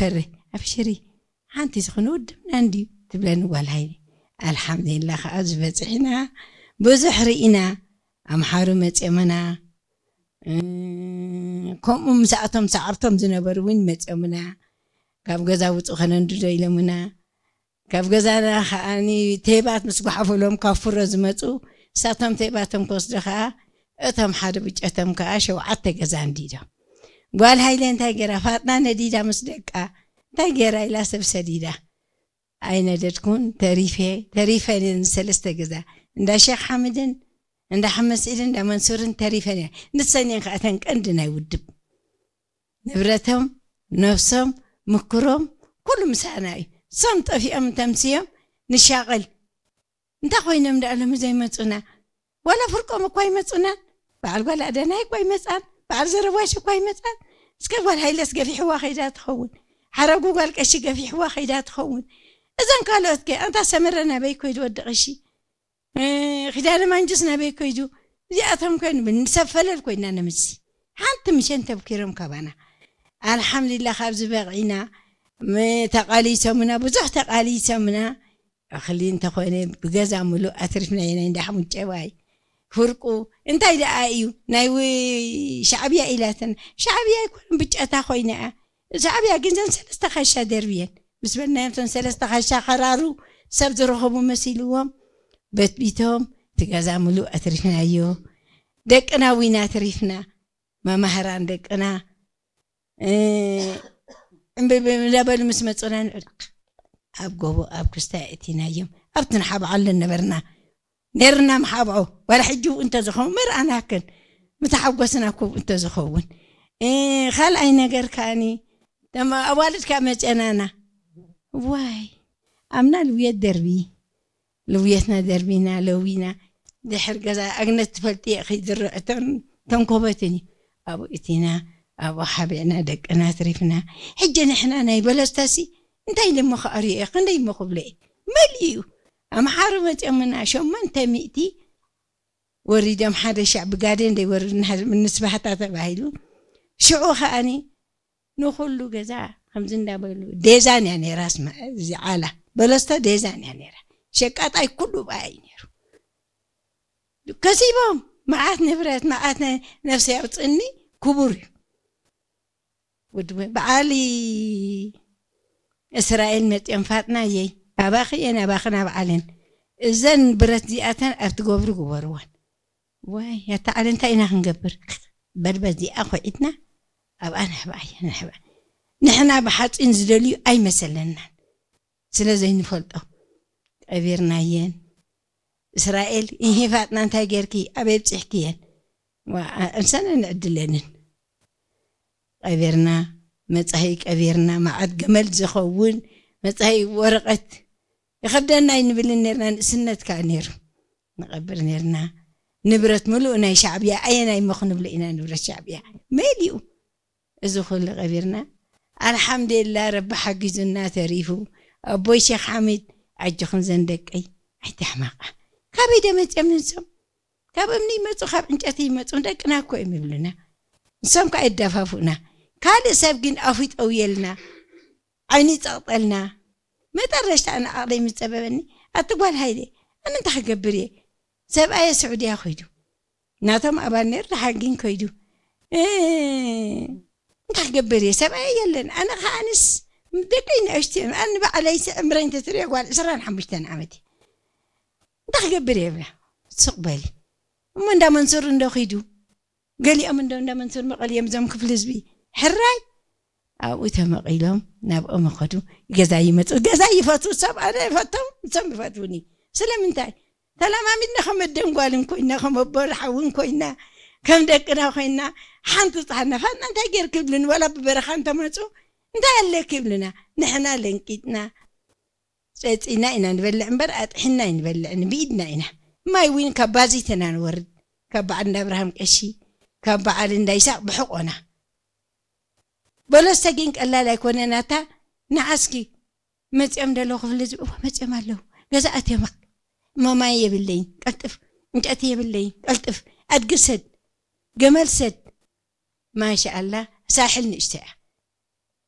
ፈሪ፣ ኣብሽሪ፣ ሓንቲ ዝኾነ ውድብና እንድዩ ትብለኒ ጓል ሃይለ። ኣልሓምዱሊላ ከዓ ዝበፅሕና ብዙሕ ርኢና። ኣምሓሩ መፅኦምና፣ እ፣ ከምኡ ምስኣቶም ሰዓርቶም ዝነበሩ እውን መፅኦምና። ካብ ገዛ ውፁ ከነንድዶ ኢሎምና። ካብ ገዛና ከዓኒ ቴባት ምስ ጓሓፈሎም ካብ ፍሮ ዝመፁ፣ እሳቶም ቴባቶም ክወስዱ ከዓ እቶም ሓደ ብጨቶም ከዓ ሸውዓተ ገዛ እንዲዶም። ጓል ሃይለ እንታይ ገይራ? ፋጥና ነዲዳ ምስ ደቃ እንታይ ገይራ ኢላ ሰብ ሰዲዳ። ኣይነደድኩን፣ ተሪፈ፣ ተሪፈን እየን ሰለስተ ገዛ። እንዳ ሼክ ሓምድን፣ እንዳ ሓመድ ስዒድን፣ እንዳ መንሱርን ተሪፈን እየን። ንሰን እየን ከዓ እተን ቀንዲ ናይ ውድብ። ንብረቶም፣ ነብሶም፣ ምክሮም፣ ኩሉ ምሳና እዩ። እሶም ጠፊኦም እንተምስዮም ንሻቐል። እንታይ ኮይኖም ደኣ ሎሚ ዘይመጹና? ዋላ ፍርቆም እኳ ኣይመጹናን። በዓል ጓል ኣደናይ እኳ ኣይመጻን። በዓል ዘረባሽ እኳ ኣይመጻን። እስከ ጓል ሃይለስ ገፊሕዋ ከይዳ ትኸውን። ሓረጉ ጓል ቀሺ ገፊሕዋ ከይዳ ትኸውን። እዘን ካልኦት ከ፣ ኣንታ ሰመረ ናበይ ኮይዱ ወዲ ቀሺ? እ፣ ኪዳነ ማንጁስ ናበይ ኮይዱ? እዚኣቶም ከ ንብል፣ ንሰብ ፈለል ኮይና ነምሲ። ሓንቲ ምሸን ተብኪሮም ካባና። ኣልሓምዱሊላህ ካብዚ በቂና። ም-፣ ተቃሊሶምና፣ ብዙሕ ተቃሊሶምና። እኽሊ እንተኾነ ብገዛ ምሉእ ኣትሪፍናዮ፣ ናይ እንዳ ሓሙት ጨባይ ፍርቁ። እንታይ ደኣ እዩ ናይ ው-፣ ሻዕብያ ኢላትና? ሻዕብያ ኣይኮነን፣ ብጨታ ኮይና እያ። ሻዕብያ ግን ዘን ሰለስተ ካሻ ደርብየን ምስ በልናዮም፣ እተን ሰለስተ ካሻ ከራሩ ሰብ ዝረኸቡ መሲልዎም በትቢቶም፣ እቲ ገዛ ምሉእ ኣትሪፍናዮ። ደቅና ዊና ኣትሪፍና፣ መማህራን ደቅና፣ እ፣ እምብብ እንዳበሉ ምስ መጹና ንዕልቕ። ኣብ ጎቦ፣ ኣብ ክስታይ እቲናዮም። ኣብቲ ንሓብዓሉ ነበርና። ነርና ምሓብዖ። ዋላ ሕጂ እውን እንተዝኸውን መርኣናክን። ምተሓጎስና እኮ እውን እንተዝኸውን። እ፣ ካልኣይ ነገር ከኣኒ፣ ተማ-፣ ኣዋልድ ካብ መጨናና። ዋይ፣ ኣምና ልውየት ደርቢ። ልውየትና ደርቢና፣ ለዊና። ድሕር ገዛ ኣግነት ትፈልጢ ኢኺ፣ ዝርዕተን ተንኮበትን እዩ። ኣብኡ እቲና፣ ኣብኡ ሓቢዕና፣ ደቅና ኣትሪፍና። ሕጂ ንሕና ናይ በለስታሲ እንታይ ኢለ እሞ ክኣርዮ እየ? ክንደይ እሞ ክብሎ እየ? መሊኡ እዩ። ኣምሓሩ መፅኦምና ሸሞንተ ሚእቲ ወሪዶም፣ ሓደ ሻዕ ብጋዴን ደይወርድ ንሃ-፣ ንስባህታ ተባሂሉ። ሽዑ ከኣኒ ንኹሉ ገዛ ከምዚ እንዳበሉ፣ ዴዛን እያ ነይራ፣ ስማ-፣ እዚ ዓላ በለስቶ ዴዛን እያ ነይራ። ሸቃጣይ ኩሉ ብኣ እዩ ነይሩ። ከሲቦም መዓት ንብረት፣ መዓት ነ-፣ ነፍሲ ያውፅኒ ክቡር እዩ። ውድቡ በዓል እስራኤል መፅኦም፣ ፋጥናየይ፣ ኣባኺ እየን፣ ኣባኽን ኣብ ዓለን። እዘን ብረት እዚኣተን ኣብ ትገብሩ ግበርወን። ዋይ፣ ያታ ዓለም እንታይ ኢና ክንገብር? በል በዚኣ ኮይዕትና ኣብኣ ንሕብኣ እያ፣ ንሕብኣ። ንሕና ብሓፂን ዝደልዩ ኣይመሰለናን። ስለ ዘይንፈልጦ ቀቢርናየን። እስራኤል፣ እሂ ፋጥና እንታይ ጌርኪ? ኣበይ ኣብፂሕክየን? ዋ፣ ኣምሳና ንዕድለንን። ቀቢርና፣ መጻኢ ቀቢርና፣ መዓት ገመል ዝኸውን መጻኢ ወረቐት ይኸብደና ኣይንብልን ነርና፣ ንእስነት ከኣ ነይሩ። ንቐብር ነርና። ንብረት ምሉእ ናይ ሻዕብያ፣ ኣየናይ እሞ ክንብሎ ኢና ንብረት ሻዕብያ? መሊኡ። እዚ ኩሉ ቀቢርና። ኣልሓምዱሊላህ፣ ረቢ ሓጊዙና ተሪፉ። ኣቦይ ሼክ ሓሚድ፣ ኣጆኽን ዘን ደቀይ፣ ኣይትሕመቓ። ካበይ ዶ መጽኦም ንሶም? ካብ እምኒ ይመጹ፣ ካብ ዕንጨቲ ይመጹ፣ ደቅና እኮ እዮም ይብሉና። ንሶም ከኣ የዳፋፉና። ካልእ ሰብ ግን ኣፉ ይጠውየልና፣ ዓይኑ ይጸቕጠልና። መጠረሽታ ኣነ ዓቕለይ ምስ ጸበበኒ፣ ኣቲ ጓል ሃይለ፣ ኣነ እንታይ ክገብር እየ? ሰብኣየ ስዑድያ ከይዱ። ናቶም ኣባል ነይሩ፣ ደሓር ግን ከይዱ። እ፣ እንታይ ክገብር እየ? ሰብኣየ የለን። ኣነ ከኣንስ ደቀይ ንእሽቶ እዮም። ኣነ ንባዕለይ ስዕምረይ እንተትሪኦ ጓል ዕስራን ሓሙሽተን ዓመት እየ። እንታይ ክገብር እየ ብላ። ስቕ በሊ። እሞ እንዳ መንሱር እንዶ ከይዱ። ገሊኦም እንዶ እንዳ መንሱር መቐል እዮም እዞም ክፍሊ ህዝቢ። ሕራይ! ኣብኡ ተመቒሎም ናብኦም ይኸዱ። ገዛ ይመጹ። ገዛ ይፈትዉ። ሰብ ኣነ ይፈቶም፣ ንሶም ይፈትዉኒ። ስለምንታይ? ተለማሚድና ከም ኣደን ጓልን ኮይና፣ ከም ኣቦን ሓውን ኮይና፣ ከም ደቅና ኮይና፣ ሓንቲ ጻሕና ፋና እንታይ ጌርኪ ይብሉኒ፣ ዋላ ብበረኻ እንተመጹ፣ እንታይ ኣለኪ ይብሉና። ንሕና ለንቂጥና፣ ጸጺና ኢና ንበልዕ እምበር፣ ኣጥሒና ኣይንበልዕን፣ ብኢድና ኢና። ማይ እውን ካብ ባዚት ኢና ንወርድ። ካብ በዓል እንዳ ኣብርሃም ቀሺ፣ ካብ በዓል እንዳ ይስሐቅ ብሕቆና። በለስተ ግን ቀላል ኣይኮነን። ኣታ ንዓስኪ መጺኦም ደለዉ ክፍሊ ህዝቢ፣ እወ መጺኦም ኣለዉ። ገዛ ኣትዮም፣ እሞ ማይ የብለይን፣ ቀልጥፍ፣ ዕንጨቲ የብለይን፣ ቀልጥፍ፣ ኣድጊ ሰድ፣ ገመል ሰድ። ማሻኣላ፣ ሳሕል ንእሽቶ እያ።